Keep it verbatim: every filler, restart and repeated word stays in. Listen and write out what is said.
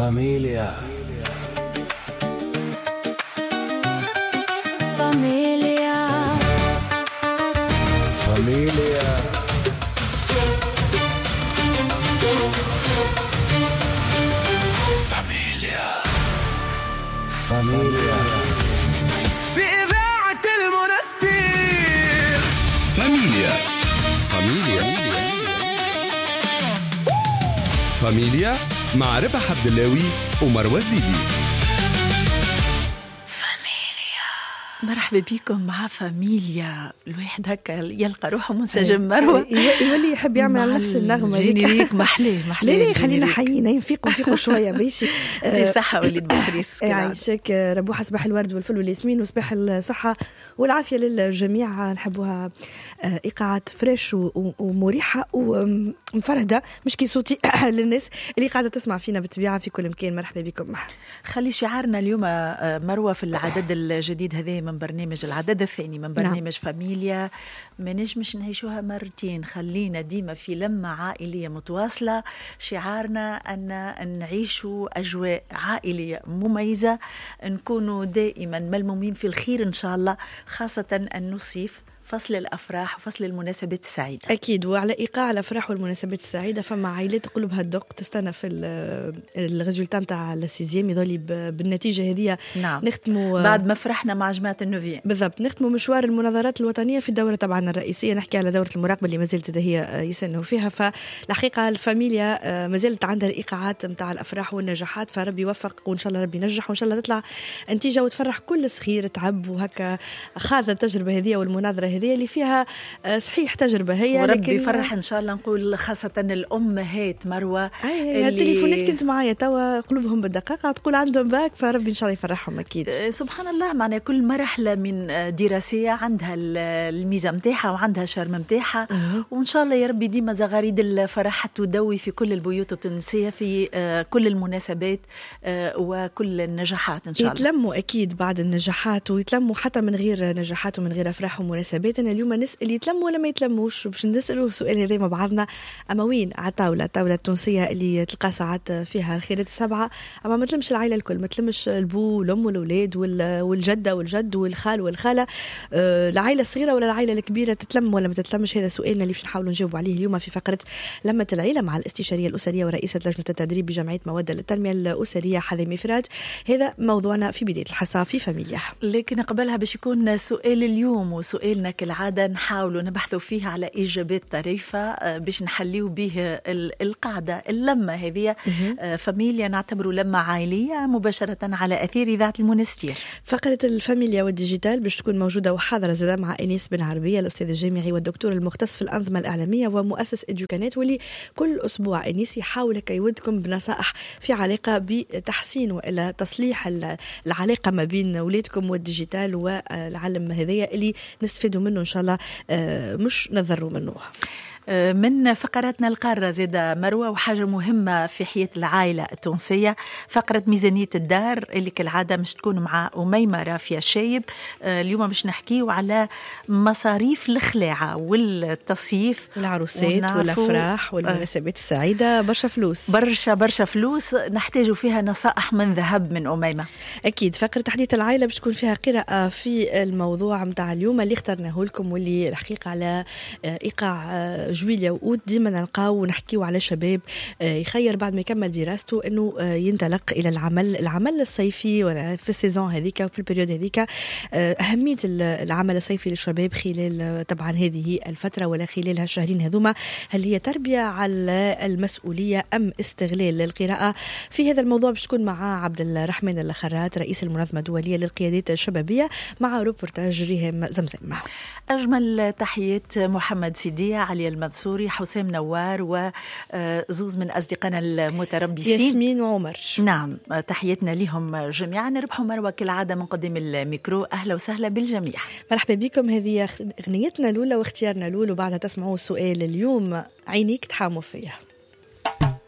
فاميليا فاميليا فاميليا فاميليا فاميليا في إذاعة المنستير. فاميليا فاميليا فاميليا مع ربح عبد اللاوي ومروى الزيدي. مرحبا بكم مع فاميليا. الواحد هكا يلقى روحه منسجم مروة، يولي يحب يعمل على نفس النغمة générique. محلاه محلاه. لا لا خلينا حيين نفيقوا نفيقوا شوية باش صحة وليد بوخريس. يعيشك ربوحة، صباح الورد والفل والياسمين وصباح الصحة والعافية للجميع. نحبوها إيقاعات fraîche ومريحة ومفرهدة، مش كي صوتي للناس اللي قاعدة تسمع فينا بالطبيعة في كل مكان. مرحبا بكم. خلي شعارنا اليوم مروة في العدد الجديد هذا من برنامج العدد الثاني من برنامج نعم. فاميليا، ما نجمش نعيشوها مرتين، خلينا ديما في لمة عائلية متواصلة. شعارنا أن نعيشوا أجواء عائلية مميزة، نكونوا دائما ملمومين في الخير إن شاء الله، خاصة أن الصيف فصل الأفراح وفصل المناسبات السعيدة. أكيد، وعلى إيقاع الأفراح والمناسبات السعيدة فما عائلات قلوبها الدق تستنى في ال résultat نتاع ال sixième، يظل بالنتيجة هذه. نعم. نختموا بعد ما فرحنا مع جماعة ال neuvième. بالضبط، نختموا مشوار المناظرات الوطنية في الدورة طبعا الرئيسية. نحكي على دورة المراقبة اللي ما زالت هي يسنوا فيها. فالحقيقة الفاميليا ما زالت عندها الإيقاعات نتاع الأفراح والنجاحات، فربي يوفق وإن شاء الله ربي ينجح وإن شاء الله تطلع نتيجة وتفرح كل صغير تعب وهكا خاض التجربة هذه والمناظرة هذه اللي فيها صحيح تجربة هي، وربي يفرح إن شاء الله. نقول خاصة الأمهات مروة، اللي... التليفونات كنت معايا توا قلوبهم بالدقيقة تقول عندهم باك، فربي إن شاء الله يفرحهم أكيد. سبحان الله، معنا كل مرحلة من دراسية عندها الميزة متاحة وعندها شرم متاحة، وإن شاء الله يا ربي ديما زغاريد الفرح تدوي في كل البيوت التونسية في كل المناسبات وكل النجاحات إن شاء الله. يتلموا أكيد بعد النجاحات، ويتلموا حتى من غير نجاحات ومن غير أفراح ومناسبات. أنا اليوم نسأل يتلموا ولا ما يتلموش، باش نسألوا السؤال هذا مع بعضنا. أما وين على الطاولة، الطاولة التونسية اللي تلقى ساعات فيها الخيرات السبعة، أما ما تلمش العائلة الكل، ما تلمش البو والأم والأولاد والجدة والجد والخال والخالة، العائلة الصغيرة ولا العائلة الكبيرة تتلم ولا ما تتلمش؟ هذا سؤالنا اللي باش نحاولوا نجاوبوا عليه اليوم في فقرة لمة العيلة مع الاستشارية الأسرية ورئيسة لجنة التدريب بجمعية مودة للتنمية الأسرية حذامي فرات. هذا موضوعنا في بداية الحصة في فاميليا. لكن قبلها باش يكون سؤال اليوم وسؤالنا كالعادة نحاولوا نبحثوا فيه على إجابات طريفة باش نحليو به القاعدة اللمة هذه. فاميليا نعتبره لمة عائلية مباشرة على أثير إذاعة المنستير. فقرة الفاميليا وال digital باش تكون موجودة وحاضرة زادة مع أنيس بن عربية، الأستاذ الجامعي والدكتور المختص في الأنظمة الإعلامية ومؤسس إدوكانات، واللي كل أسبوع أنيس يحاول يودكم بنصائح في علاقة بتحسين وإلى تصليح العلاقة ما بين أولادكم وال digital والعالم هذايا اللي نستفيدوا منه إن شاء الله، مش نضروا منه. من فقراتنا القارة زادة مروة، وحاجة مهمة في حياة العائلة التونسية، فقرة ميزانية الدار اللي كالعادة مش تكون مع أميمة رافية شايب. اليوم مش نحكيو على مصاريف الخلاعة والتصيف والعروسات والأفراح والمناسبات السعيدة. برشا فلوس، برشا برشا فلوس نحتاج فيها نصائح من ذهب من أميمة. أكيد فقرة تحديث العائلة باش تكون فيها قراءة في الموضوع متاع اليوم اللي اخترناه لكم، واللي الحقيقة على إيقاع جويليا وأوت ديما نلقاو ونحكيو على شباب يخير بعد ما يكمل دراسته انه ينطلق الى العمل، العمل الصيفي ولا في ال saison هذيك وفي ال période هذيك. اهمية العمل الصيفي للشباب خلال طبعا هذه الفترة ولا خلال هالشهرين هذوما، هل هي تربيه على المسؤولية ام استغلال للقراءة؟ في هذا الموضوع باش تكون مع عبد الرحمن الخرات رئيس المنظمة الدولية للقيادات الشبابية، مع روبورتاج ريهام زمزم. اجمل تحيات محمد سيدية، علي المنصوري، حسام نوار، وزوز من أصدقائنا المتربصين ياسمين وعمر. نعم، تحياتنا لهم جميعا. ربحوا مروة كالعادة من قدام الميكرو. أهلا وسهلا بالجميع، مرحبا بكم. هذه أغنيتنا الأولى واختيارنا الأول، وبعدها تسمعوا سؤال اليوم عينيك تحاموا فيها.